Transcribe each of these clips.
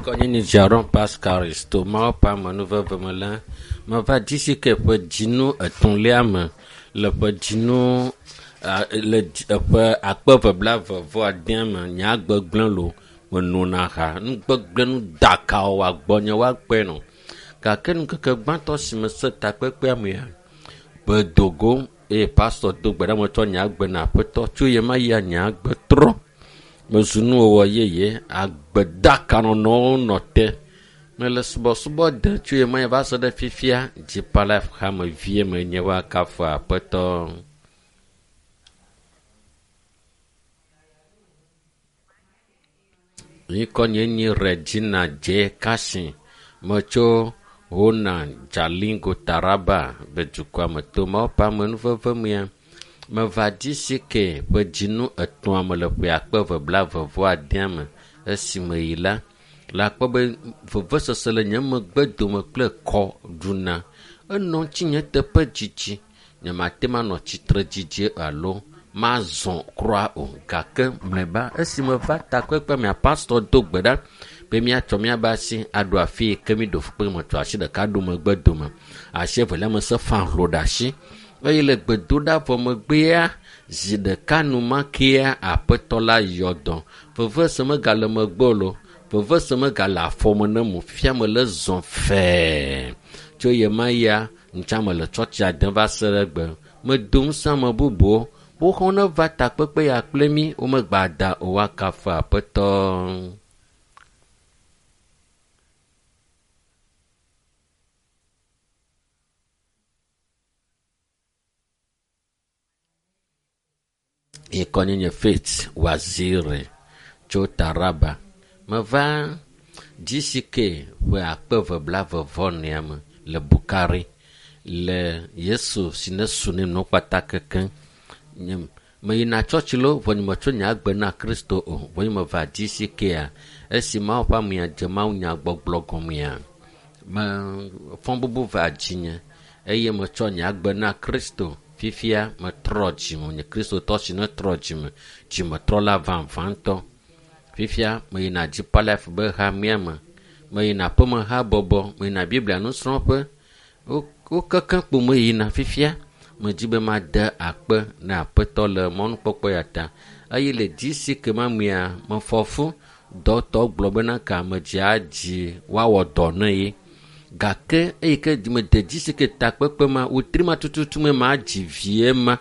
Ŋkɔnye nye Jaron Pascaris to Mawu ƒe amenuveve me la, meva GCK ƒe dzinu etɔ̃lia me le ƒe dzinu le eƒe akpe eve blaeve vɔ adea me nye agbe gblẽ lo menona ha nugbegblẽ nu dakawo woagbɔnye woakpɔe nɔ gake ŋkeke gbãtɔ si mese takpekpea mea medo go eye pastɔ do gbe ɖa metsɔ nye agbe na aƒetɔ tso ye ma yia nye agbe trɔ mezu nuwɔwɔ yeye agbedakanɔnɔwo nɔ te mele subɔsubɔ de tso ye ma yi va se ɖe fifia Deeper Life hamevie menye woakafu aƒetɔ. Ŋkɔnye nye Regina J. Kashin. Metso Hona Jalingo Taraba be dukɔa me to Mawu ƒe amenuveve mea. Meva GCK ƒe dzinu etɔ̃a me le ƒe akpe eve blaeve vɔ adea me. Esime yi la, le akpɔ be vevesese le nye megbe dome kple kɔ ɖuna. Enɔ ŋutinye teƒe dzidzi. Nyemate ŋu anɔ tsitre dzidzi alo mazɔ kura o. Gake mlɔeba esime va takpekpe mea, pastɔ do gbe ɖa be míatsɔ míabe asi aɖo afi yi ke míɖo fukpe metsɔ asi ɖeka ɖo megbe dome. Asi evelia me se fa hlo ɖe asi eye le gbedoɖa vɔ megbea zi ɖeka numakea aƒetɔ la yɔ dɔ. Vevese megale megbe o lo. Vevese megale afɔme ne mo. Fifia mele zɔ fɛɛ. Tso ye ma yia, ŋutsa mele tsɔtsia dem va se ɖe egbe. Medo ŋusẽ ame bubuwo. Woxɔ ne va takpekpe ya kple mí, womegba da o woakafu aƒetɔ. Ŋkɔnye nye Faith Waziri tso Taraba. Meva GCK ƒe akpe eve blaeve vɔ enea me le Bukari le Yesu si ne su ne nɔ kpata kekeŋ. Nye meyina tsɔtsi lo vɔ nye metsɔ nye agbe na Kristo o. Vɔ nye meva GCK-a esi Mawu ƒe amea dze mawunya gbɔgblɔ gɔmea me fɔbubu va dzinye eye metsɔ nye agbe na Kristo. Fifia metrɔ dzime nye Kristotɔ si ne trɔ dzime dzimetrɔla vavãtɔ. Fifia meyina Deeper Life be hamea me. Meyina aƒemehabɔbɔ, meyina Biblia nusrɔ̃ƒe. Wo wo kekeŋ kpo meyina fifia. Medzi be made akpe na aƒetɔ le mɔnukpɔkpɔ ya ta. Eye le GCK ma mea, mefɔ fu. Dɔtɔ gblɔ bena ka medzi adzi woawɔ dɔ ne ye. Gake eyi ke mede GCK takpekpe ma, wetri ma tututu me madzi vie ma.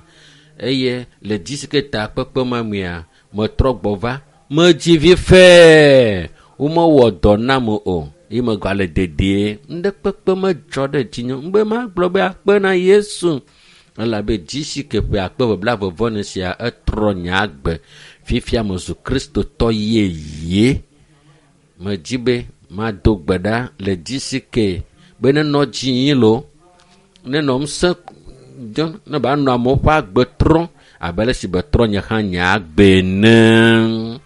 Eye le GCK takpekpe ma mea, metrɔ gbɔ va. Medzi vi fɛɛ. Womewɔ dɔ nam o. Ye megale dedie. Ŋɖekpekpe medzɔ ɖe dzinye. Ŋgbe magblɔ be akpe na Yesu. Elabe GCK ƒe akpe eve blaeve vɔ ene sia etrɔ nye agbe. Fifia mezu Kristotɔ yeye. Medzi be mado gbe ɖa le GCK be nenɔ dzi yi lo, nenɔ ŋusẽ dzɔ ne ba nɔ amewo ƒe agbe trɔm abe ale si betrɔ nye hã nye agbe ene.